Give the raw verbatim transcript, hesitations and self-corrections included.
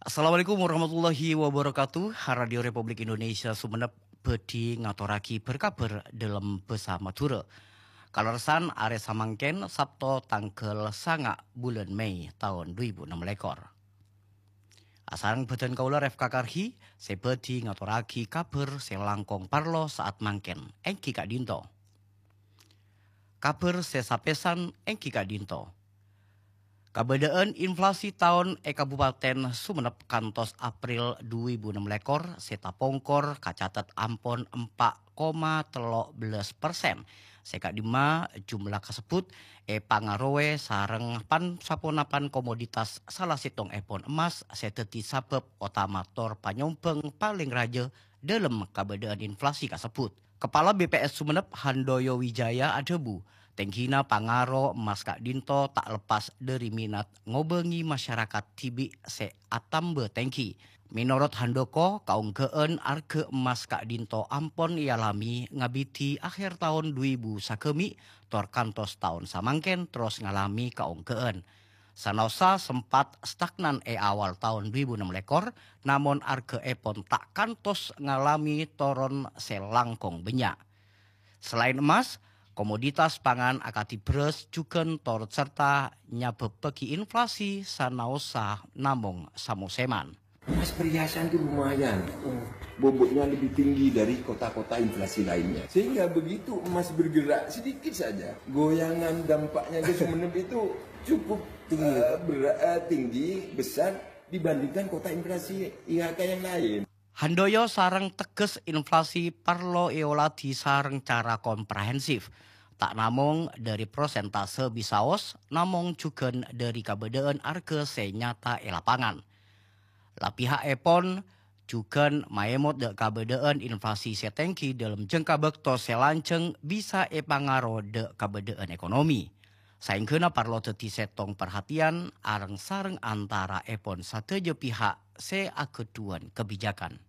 Assalamualaikum warahmatullahi wabarakatuh. Radio Republik Indonesia Sumenep bhâdhi ngatorraghi bâr-kabhâr dâlem bhâsa Madhurâ. Kalerressan arè samangkèn, Sabto, tangghâl sanga' bulân Mei taon dhu èbu ennem lèkor. Asareng bhâdhân kaulâ Refka Karhi sè bhâdhi ngatorraghi kabhâr sè langkong parlo sa'at mangkèn, èngghi ka'dinto. Kabhâr sè sapèsan èngghi ka'dinto. Kabâdâ'ân inflasi taon è Kabupaten Sumenep kantos April dhu èbu ennem lèkor sè tapongkor kacatet ampon empa' koma tello bellâs persen. Sè ka'dimma jumlah kasebbhut èpangarowè sareng pan-saponapan komoditas, sala sèttongngèpon emmas sè dhâddhi sabâb otama tor panyombhâng palèng rajâ dâlem kabâdâ'ân inflasi kasebbhut. Kepala B P S Sumenep, Handoyo Wijaya, adhâbu, tèngghina pangaro emmas ka'dinto ta' leppas dhâri minat ngobângè masyarakat dhibi' sè atamba tèngghi. Mènorot Handoko, kaonggâ'ân arghâ emmas ka'dinto ampon èalamè ngabidhi akhèr taon dhu èbu sagâmè' tor kantos taon samangkèn terros ngalamè kaonggâ'ân. Sanaossa sempat stagnan è awal taon dhu èbu ennem lèkor, namong arghâèpon ta' kantos ngalamè toron sè langkong bânnya'. Salaèn emmas, komoditas pangan akadhi bherrâs jhughân torot sarta nyabâbbhâghi inflasi sanaossa namong samosèman. Emas perhiasan itu lumayan. Bobotnya lebih tinggi dari kota-kota inflasi lainnya. Sehingga begitu emas bergerak sedikit saja, goyangan dampaknya ke Sumenep itu cukup, eh, bera-, eh, tinggi, besar dibandingkan kota inflasi I H K yang lain. Handoyo sareng teges inflasi parlo èoladhi sareng cara komprehensif. Ta' namong dhâri prosentase bisaos, namong jhughân dhâri kabâdâ'ân arghâ sè nyata è lapangan. La piha'èpon jhughân maèmot dâ' kabâdâ'ân inflasi sè tèngghi dâlem jangka bâkto sè lanjhâng bisa èpangaro dâ' kabâdâ'ân ekonomi. Saèngghâna parlo dhâddhi sèttong parhatiyan areng-sareng antaraèpon sadhâjâ piha' sè aghâdhuwân kabijakan.